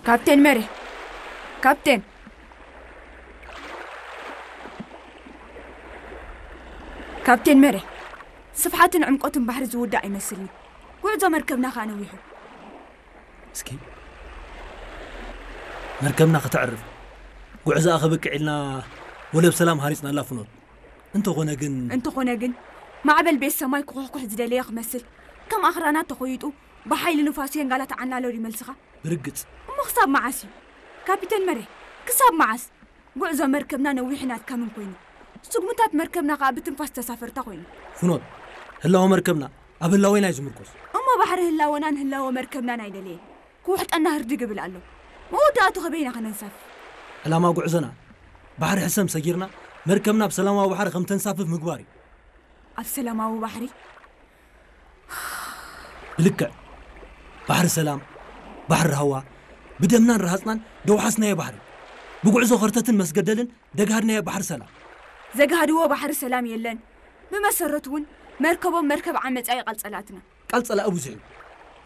ካፕቴን መሬ፣ ካፕቴን፣ ካፕቴን መሬ፣ ስፍሓትን ዕምቆትን ባሕሪ ዝውዳእ ኣይመስልኒ። ጉዕዞ መርከብና ከኣ ነዊሑ። እስኪ መርከብና ከተዕርፍ ጉዕዞኣ ከበቅዕ ኢልና ወደብ ሰላም ሃሪጽናላ ፍኖት። እንተኾነ ግን እንተኾነ ግን ማዕበል ቤት ሰማይ ክኹሕኩሕ ዝደለየ ክመስል ከም ኣኽራናት ተኾይጡ ብሓይሊ ንፋስ የንጋላ ተዓናሎ ድዩ መልስኻ? ብርግጽ። እሞ ክሳብ መዓስ እዩ? ካፒተን መሬ፣ ክሳብ መዓስ? ጉዕዞ መርከብና ነዊሕን ኣድካምን ኮይኑ፣ ስጉምታት መርከብና ከኣ ብትንፋስ ተሳፈርታ ኮይኑ። ፍኖት፣ ህላወ መርከብና ኣብ ህላወና እዩ ዝምርኮስ። እሞ ባሕሪ ህላወናን ህላወ መርከብናን ኣይደለየን። ክውሕጠና ህርድግ ይብል ኣሎ። መወዳእቱ ከበይና ከነንሳፍፍ? ዕላማ ጉዕዞና ባሕሪ ሕሰም ሰጊርና መርከብና ኣብ ሰላማዊ ባሕሪ ከም ተንሳፍፍ ምግባር እዩ። ኣብ ሰላማዊ ባሕሪ? ብልክዕ ባሕሪ ሰላም፣ ባሕሪ ሃዋ፣ ብደምናን ረሃጽናን ደውሓስናዮ ባሕሪ፣ ብጉዕዞ ኸርተትን መስገደልን ደጋሃድናዮ ባሕሪ ሰላም። ዘግሃድዎ ባሕሪ ሰላም የለን። ብመሰረቱ እውን መርከቦም መርከብ ዓመጻ እዩ ቃል ጸላእትና። ቃል ጸላኢ ብዙሕ እዩ።